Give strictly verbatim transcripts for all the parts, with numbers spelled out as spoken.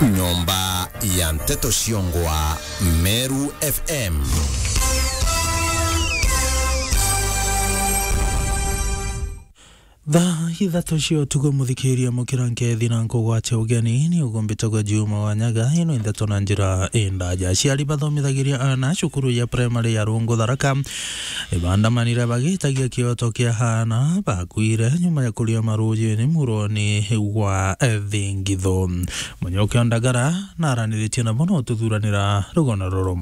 Nyomba ya nteto ciongwa Meru F M. Thaa ithatu cia utuku, muthikiria, mukira nkethi na nkugwate ugeni, ni ugumbitagwa Juma wa Nyaga. Ino i ndeto na njira indaja. Aciari bathomithagiria aana cukuru ya primary ya Rungu Tharaka ibandamanire bagitagia kioto kia aana bakuire nyuma ya kuria marujini muroni wa Thingithu. Munyoke o Ndagara naraniritie nabo no tuthuranira rugano ruru.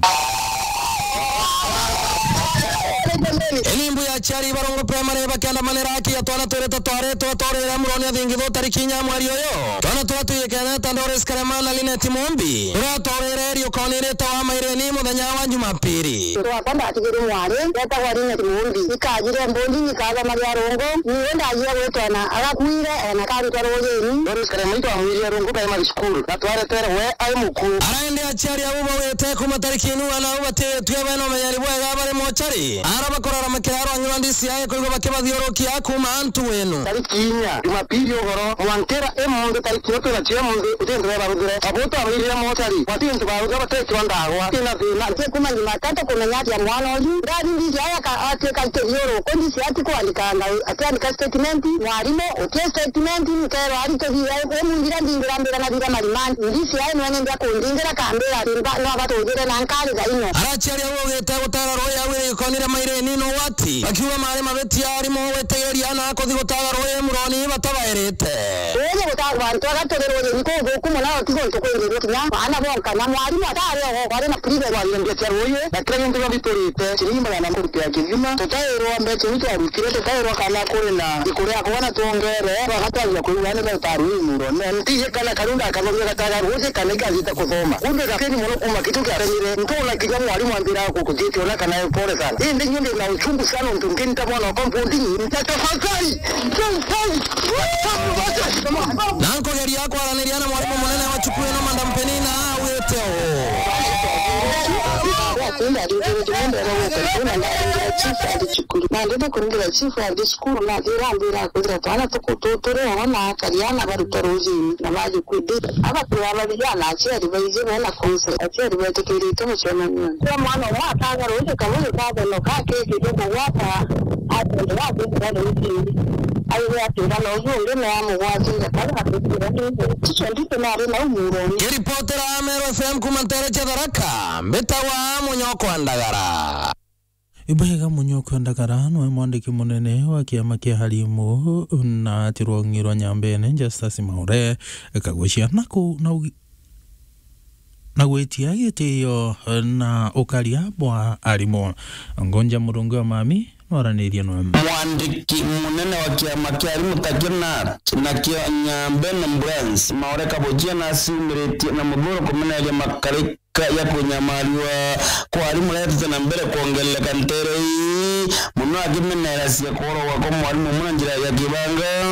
Ini mbu ya aciari ba Rungu Primary bakiandamanira aki ya twana twirite twaritwe twaurire muroni wa Thingithu tariki inya mweri uyu. Twana turia twiyikene ta Doris Karema na Linet Mumbi, turia twaurire riukoni rita wa Maireni muthenya wa Jumapiri. Twakwa ndatigirwe mwari, wetagwa Linet Mumbi. Ikajire mbundi nyikathoma gia Rungu, niwe ndajire gwitwa na agakuire, ena karutwa rujini. Doris Karema itwamwirire Rungu Primary School, na twaretere we ai muku. Araende aciari au baugite kuma tariki inu ana au batitue bena umenyeri bwega bari mochari. Ara bakorara makiraro anyura D C I kuigwa bakibathiurukia kuma antu wenu. Tariki inya, Jumapili ugoro, mwankira imunthi tariki iyo twina cio imunthi, uti ntu baruthire. Abo twabairire mochari, bati ntu baruthire batekirwa ndagwa, ina thina. Ntie kuma Jumatatu kumenya atia mwana uyu. Ndani D C I aka-, atuika kithiuruku, D C I ati kwandika nga-, atiandika statement, mwarimu, utie statement, nkerwa ari tuthire, imunthi iria ndingira mbira na thire marimani. D C I nwene ndia kundingira kambira ati mba-, no abatujire na nkari thaino. Araciari au augite gutara rui au iri gikoni ria Maireni no wati. Akiuga mari mabitia arimu gwitigiria na kuthi gutaga rui muroni batabairite. Rui gutaga bantu aga turi rui ni kuthuku muno, ti guntu kwingi gukinya. Baana bonka na mwarimu atari ogo kwari na private. Twariria mbia cia rui na kira gintu gionthe biturite. Ciringi magana murute ya kithima. Tutairwa mbeca iu twarutire, tutairwa kana kuri na iku ria kwana twongere. Bagatwajia kwigua ni bauta rui muroni. Ntiji kana kariu ndakathomia gataga ruji kana ikathite kuthoma. Kumbe gakeni muno kuma kitu kia remire. Ntona kinya mwarimu ambira gukujite ona kana pole sana. Indi nyu ndi na uchungu sana untu nginta mwana wa compound ni. Ntatafakari. Na nkugeria kwaraniria na mwarimu munene wa cukuru ino, Madam Penina, augite uu. Chief athi cukuru. Na ndenda kuringira chief athi cukuru, nathira ambira kwithira twana tuku-, tu-, turi o na akari ana baruta rujini na bathi kwithira. Abakwira bathia na aciari baiji bena council, aciari betikirite mucemanio. Kwa mwana umwe ataga ruji kabuyu katheno kakikite kugwata, atendera kwithira rujini. Aigwe akira na uju ungi na amugwatire kau akwithira ni. Chicho nditi nari nau muroni. Ngiripotera Meru F M kuma ntere cia Tharaka, mbitawa Munyoko wa Ndagara. Ibwega Munyoko wa Ndagara niwe mwandiki munene wa kiama kia arimu na tirwong'i rwa Nyambene, Justus Maure, kagucia na ku-, na ugi-, na gwitia gitio na ukaria bwa arimu. Ngonja Murungi wa Mami nwaranirie nwe. Mwandiki munene wa kiama kia arimu ta KNUT na kio Nyambene Branch, Maore Kabuchia naciumiritie na muthuro kumeneria makarika ya kunyamariwa kwa arimu retete na mbere kwongerereka ntere ii, muno akimeneeracia kuoragwa kwa mwarimu umwe na njira ya kibanga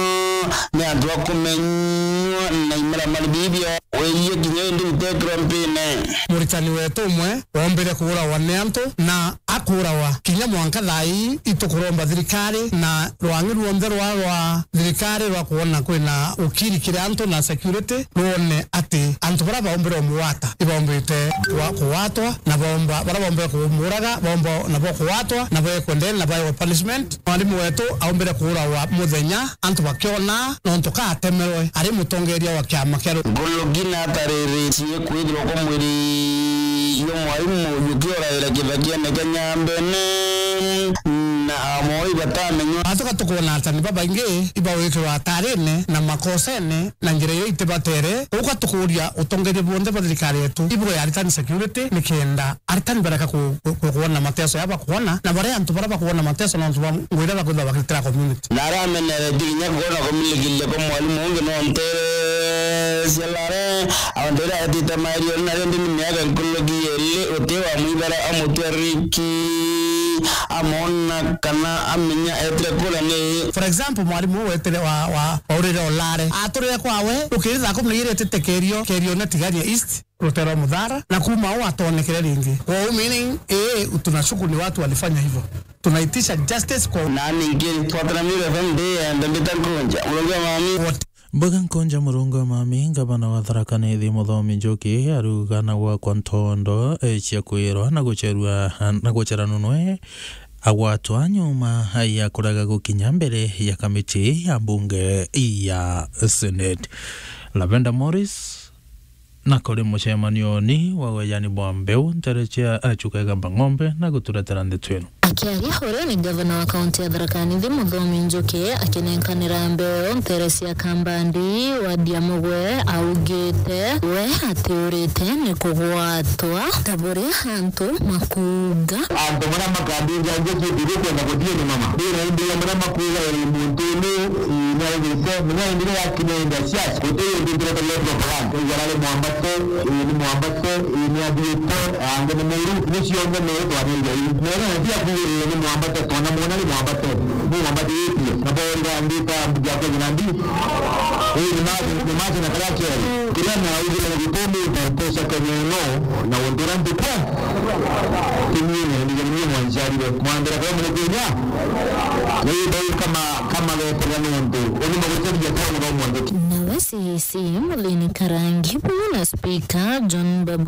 ni antu a kumenywa na imaramari bibio. Wirie kinya indi utekirwa mpine. Muritani wetu umwe wombire kuuragwa ni antu, na akuuragwa kinya mwanka thaa ii itukuromba thirikari na rwang'i ruonthe rwa, rwa thirikari rwa kwona kwina ukiri kiri antu na security, rwone ati antu baria baombire umugwata ibaombite kwa-, kugwatwa, na baomba, baria baombire kumuraga baomba nabo kugwatwa, na bekwe ndene na baewe punishment. Mwarimu wetu aombire kuuragwa muthenya antu bakiona, nontu ka atemerwe ari mutongeria wa kiama kia ru- Ngulugi natariritie kwithirwa kwa mwiri jwa mwarimu uyu ukioraira kithakiene kia Nyambene na amoi batamenywa. Atuka tukwona atani babaingi ibawikirwa atarine na makosene na njira iria itibatere. Uka tukuria utongeria bonthe bwa thirikari yetu ibwe ya aritani security, nikenda aritani bareka ku-, ku-, kuona mateso ya bakuona, na baria antu baria bakuona mateso nontu bwa ngugi iria bakwithirwa bakiritira community. Na arameneretie kinya kuona kumilikiria kwa mwarimu ungi no ntere cia lare, aontere aetite mairioni na rindi ni miaka nkuluki iri uti wa mwibara amutwe riki, amona kana amenya etire kura ni. For example, mwarimu uu wetire wa, wa, wa urire o lare, aturire kwawe, ukiri thaa kumi na igiri etite kerio, kerio na Tigania East. Rutero Muthara, na kuma au atonekere ringi. Kwa u meaning, ii, tunashuku ni watu walifanya hivyo. Tunaitisha justice kwa u- Na ningi, twatana Meru F M ndi, ende mbita nkunja. Murongo wa mami. What? Mbuga nkunja Murungu wa mami, ngavana wa Tharaka Nithi Muthomi Njuki, aruga na gwakwa ntondo, eh, cia kwirwa na gucherua, na guchera nunwe, agwatwa nyuma ya kuraga gukinya mbere ya kamiti ya mbunge ya Senate. Lavender Morris, na kuri mucemanioni wa wejani bwa mbeu ntere cia Achuka Igamba Ng'ombe na guturetera ndeto ino. Akiaria uria ni gavana wa kaunti ya Tharaka Nithi Muthomi Njuki akinenkanira mbeu ntere cia Kambandi wadi ya Mugwe, augite we atiurite ni kugwatwa ta buria antu makuuga. Antu baria makambinja njuki ibu kwenda kuthie ni mama. Ndira imbira baria makuuga iri muntu unu, ii, ni augite, munya imbira ya kinenga siasa, guti undu ndirete left of land. Igara ri mwambate, ii, ni mwambate, ii, ni athiite, ange ni muru, ni cionthe ni twaneire ii. Nere na tia kuuga ii, ni mwambate, twana mwona ni mwambate, ni mwambate itie. Na bo ira ndita ya kwenya na ndi, ii, ni ma-, ni macho na karia keri. Kiria naugire ni gitumi ndatesha Kenya ino, na untu uria ntukwa, Kimine, ni Kimine mwanjari we. Mwambira kwa mune Kenya. Ni bau kama, kama getera nuntu. Uni maguteria kwa mwandu. Nawe C E C Muthini Karangi, buna speaker John Babu